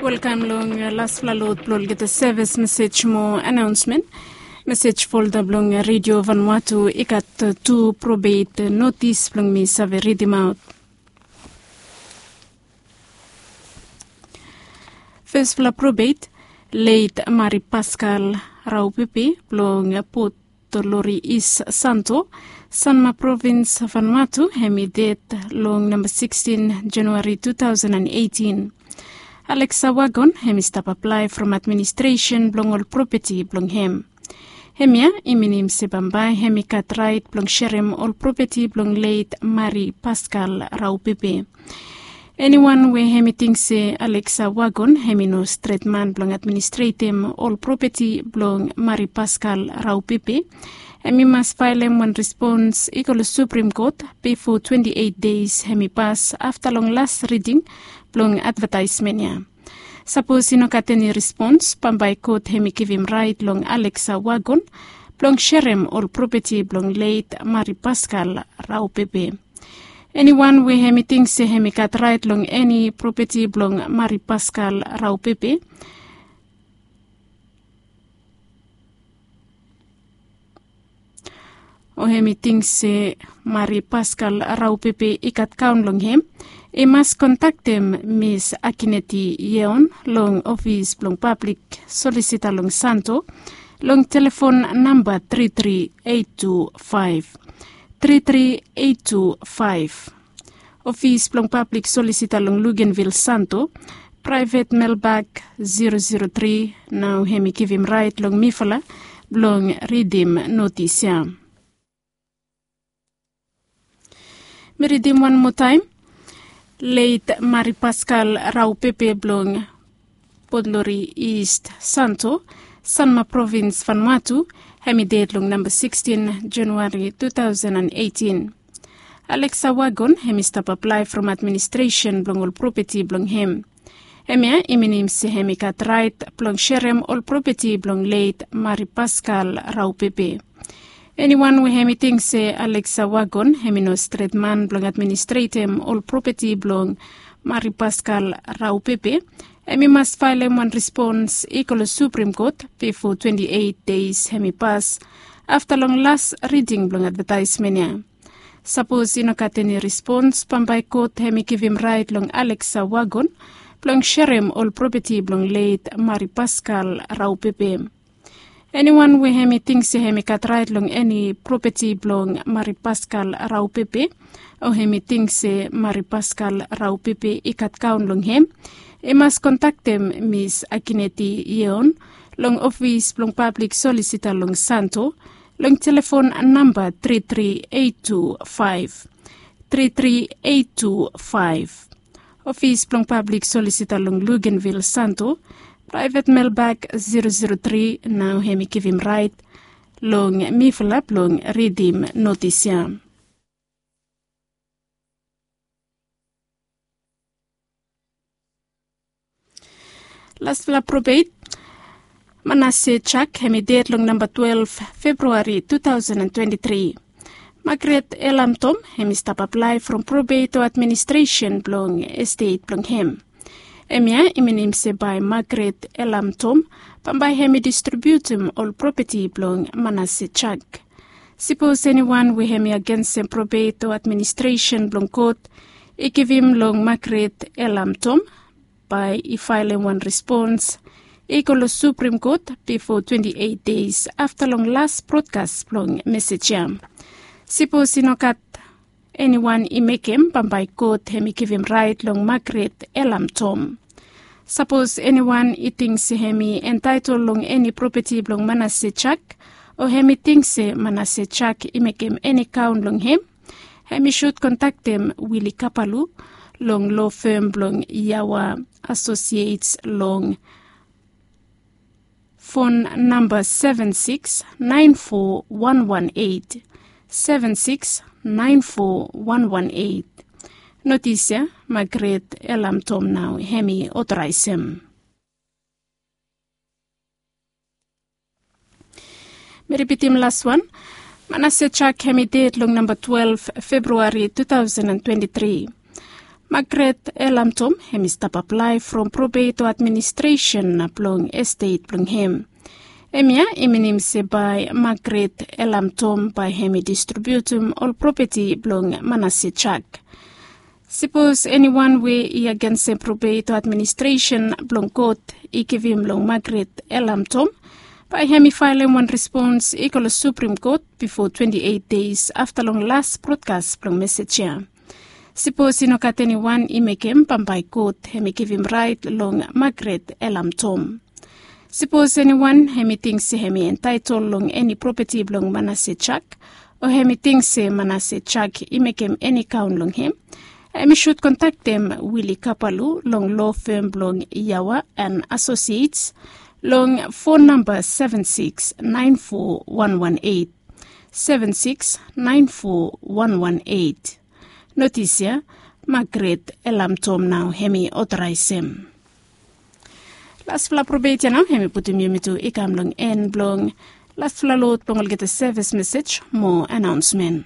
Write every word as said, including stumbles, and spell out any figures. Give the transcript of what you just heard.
Welkam long laspela lot blong olgeta sevis mesej mo anaonsmen. Mesej folda blong redio Vanuatu i gat tu probet notis blong mi save ridimaot. Fespela probet, leit Mari Paskal Raupepe blong Port Lori East Santo, Sanma Provins, Vanuatu, hem i ded long namba sikstin Januari tu tausen an eitin. Alexa Wagon hem i stap aplae from administresen blong ol propeti blong hem. Hemia i minim se bambae hem i gat raet blong serem ol propeti blong leit Mari Paskal Raupepe. Eniwan we hem i ting se Alexa Wagon hem i no stret man blong administretem ol propeti blong Mari Paskal Raupepe, hem i mas faelem wan respons i go long Suprim Kot bifo twenti eit deis hem i pas afta long las riding blong advataesmen ya. Sapos i no gat eni respons, bambae kot hem i givim raet long Alexa Wagon blong serem ol propeti blong leit Mari Paskal Raupepe. Eniwan we hem i ting se hem i gat raet long eni propeti blong Mari Paskal Raupepe, o hem i ting se Mari Paskal Raupepe i gat kaon long hem, i mas kontaktem Mis Akineti Yeon long ofis blong pablik solisita long Santo long telefon namba tri tri eit tu faef, tri tri eit tu faef. Ofis blong pablik solisita long Luganvil Santo, praevet melbak zero zero tri, nao hem i givim raet long mifala blong ridim notis ya. Mi ridim wan moa taem. Leit Mari Paskal Raupepe blong Port Lori East Santo, Sanma Provins, Vanuatu, hem i ded long namba sikstin Januari tu tausen an eitin. Alexa Wagon hem i stap aplae from administresen blong ol propeti blong hem. Hemia i minim se hem i gat raet blong serem ol propeti blong leit Mari Paskal Raupepe. Eniwan we hem i ting se Alexa Wagon hem i no stret man blong administretem ol propeti blong Mari Paskal Raupepe, hem i mas faelem wan respons i go long Suprim Kot bifo twenti eit deis hem i pas afta long las riding blong advataesmen ya. Sapos i no gat eni respons, bambae kot hem i givim raet long Alexa Wagon blong serem ol propeti blong leit Mari Paskal Raupepe. Eniwan we hem i ting se hem i gat raet long eni propeti blong Mari Paskal Raupepe, o hem i ting se Mari Paskal Raupepe i gat kaon long hem, i mas kontaktem Mis Akineti Yeon long ofis blong pablik solisita long Santo long telefon namba tri tri eit tu faef, tri tri eit tu faef. Ofis blong pablik solisita long Luganvil Santo, praevet melbak zero zero tri, nao hem i givim raet long mifala blong ridim notis ya. Laspela probet, Manase Chak, hem i ded long namba twelef Februari tu tausen an twenti tri. Magret Elam Tom hem i stap aplae from probet o administresen blong estet blong hem. Hemia i minim se bae Magret Elam Tom bambae hem i distribiutim ol propeti blong Manase Chak. Sipos eniwan we hem i agensem probet o administresen blong kot i givim long Magret Elam Tom, bae i faelem wan respons i go long Suprim Kot bifo twenti eit deis afta long las brodkas blong mesej ya. Sipos i no gat eniwan i mekem, bambae kot hem i givim raet long Magret Elam Tom. Sapos eniwan i ting se hem i entaetol long eni propeti blong Manase Chak, o hem i ting se Manase Chak i mekem eni kaon long hem, hem i sud kontaktem Wili Kapalu long lo fem blong Yawa Asosiets long fon namba seven six nine four one one eight, seven six nine four one one eight. Notis ya, Magret Elam Tom nao hem i otoraesem. Mi ripitim laswan. Manase Chak hem i ded long namba twelef Februari tu tausen an twenti tri. Magret Elamtom hem i stap aplae from probeto administresen blong estet blong hem. Hemia i minim se bae Magret Elamtom bae hem i distribiutum ol propeti blong Manase Jak. Sipos eniwan we i agensem probeto administresen blong kot i givim long Magret Elamtom, bae hem i faelem wan respons i go long Suprim Kot bifo twenti eit deis afta long las brodkas blong mesej ya. Sipos i no gat eniwan i mekem, bambae kot hem i givim raet long Magret Elamtom. Sipos eniwan hem i ting se hem i entaetol long eni propeti blong Manase Jak, o hem i ting se Manase Jak i mekem eni kaon long hem, hem i sud kontaktem Wili Kapalu long lo fem blong Yawa and Associates long fon namba seven six nine four one one eight, seven six nine four one one eight. Notis ya, Magret Elamtom nao hem i otoraesem. Lasfala probeit ya nao hem i putum yumi tu i kam long en blong lasfala lod blong olgeta sevis mesej mo anaonsmen.